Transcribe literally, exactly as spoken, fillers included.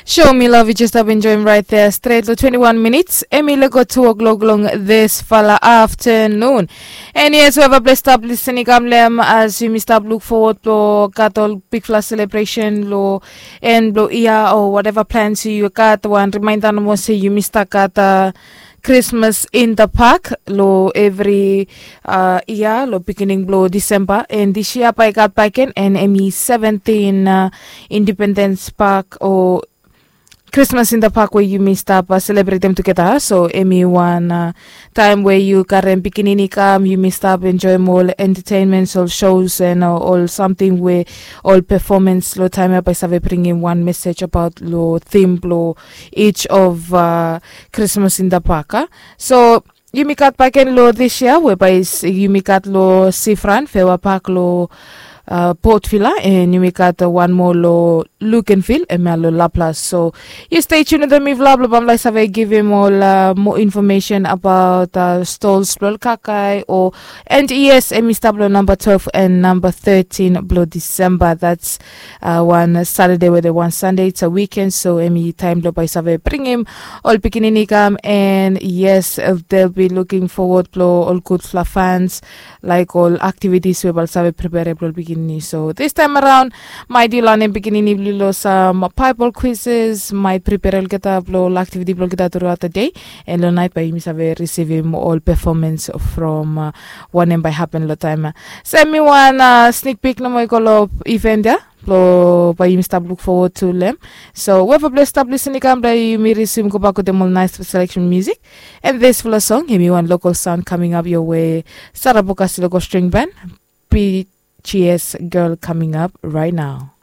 Show me love, you just stap enjoim right there stret long twenty-one minutes. Em i lego two o'clock long this fala afternoon. And yes, whoever bles stap listening kam lem as yumi stap look forward lo gat ol bigfala celebration lo en blo ia o whatever plans you gat, wan reminder nomo se yumi stap gat uh, Christmas in the Park lo evri uh, ia lo beginning blo December, and this year bai gat baken and em i seventeen uh, Independence Park o Christmas in the Park we yumi stap uh, celebratem tugeta. So em i wan uh, taem we yu karem pikinini kam, yumi stap enjoim ol entertainments, ol shows and uh, ol samting we ol performance lo taem ia bai save bringim wan message about lo theme blo each of uh, Christmas in the Park uh. So yumi gat baken lo this year we bai yumi gat lo Sifran, Fewa Park lo uh, Port Vila, and yumi gat uh, wan moa lo Lukenville, em ia lo Laplas. So you stay tuned with me vlog blo bamlai save givim ol uh, more information about uh, stalls blo ol kakae o and yes, em i stap lo number twelve and number thirteen blo December. That's uh, wan Saturday we de wan Sunday, it's a weekend, so em i taem blo bai save bringim ol pikinini kam, and yes, uh, they'll be looking forward blo ol gudfala fans like ol activities we bai save prepare blo ol pikinini. So this time around, mai di lanem pikinini blo lo sam Bible quizzes, mai prepare olgeta blo ol activity blo olgeta throughout the day, and lo night bai yumi save receivim ol performance from uh, wanem bai happen lo taem ia. Sem mi wan uh, sneak peek nomo i go lo event ia blo bai yumi stap look forward to lem. So whoever bles stap listening kam bai yumi resume go back wetem ol nice selection music. And this fala song em i wan local sound coming up your way. Sara Bokas local string band, BGS girl coming up right now.